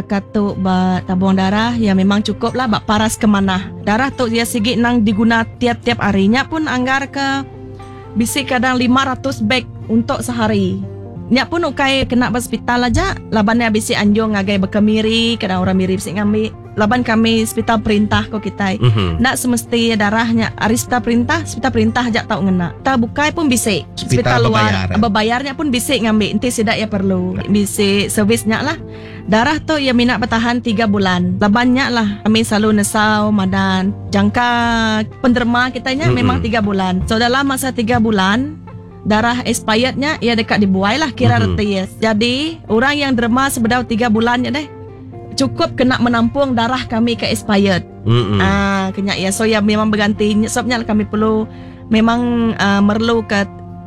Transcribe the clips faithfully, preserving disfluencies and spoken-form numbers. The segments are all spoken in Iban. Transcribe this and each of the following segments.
Baka tu ba tabung darah ya memang cukup lah ba paras ke manah. Darah tu ya sigi nang diguna tiap-tiap harinya pun anggar ke bisi kadang lima ratus beg untuk sehari. Nya pun ukai kena ba hospital aja, laban ya bisi anjung ngagai bekemiri, kadang orang miri bisi ngambi. Laban kami hospital perintah ko kita. Mm-hmm. Nak semesti darahnya ari hospital perintah, hospital perintah aja tau ngena. Ta bukai pun bisi. Hospital Hospital luar berbayar, eh? Berbayarnya pun bisi ngambi enti sidak ya perlu. Bisi servisnya lah. Darah tu ya minat bertahan tiga bulan. Labannya lah kami selalu nesau madan. Jangka penderma kitanya Mm-mm. memang tiga bulan. So dalam masa tiga bulan darah expirednya ia dekat dibuai lah kira Mm-hmm. reti yes. Jadi orang yang derma sebedau tiga bulannya deh cukup kena menampung darah kami ke expired. Mm-mm. Ah, kena ya. So ya memang berganti. Sebabnya kami perlu memang uh, merlu ke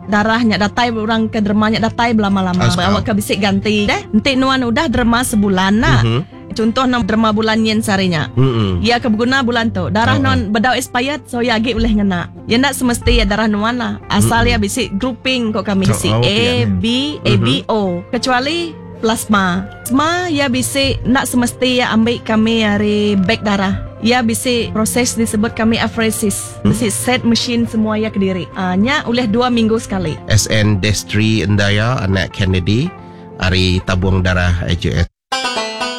darahnya datai orang ke dermanya datai berlama-lama. Asal. Awak ke bisik ganti deh. Nanti nuan udah derma sebulan nak. Mhm. Contoh nak derma bulan yen sarinya. Mm-mm. Ya ke berguna bulan tu. Darah Oh. non bedau expired so ya agi boleh ngena. Ya nak semesti ya darah nuan lah. Asal ya bisik grouping kok kami Oh, si oh, A pian. B A B O. Kecuali plasma. Plasma ya bisik nak semesti ya ambil kami dari beg darah. Ya bisik proses disebut kami apheresis. Bisik set mesin semua ya kediri. Ah, nya oleh dua minggu sekali. S N Destry Endaya anak Kennedy hari tabung darah A J S.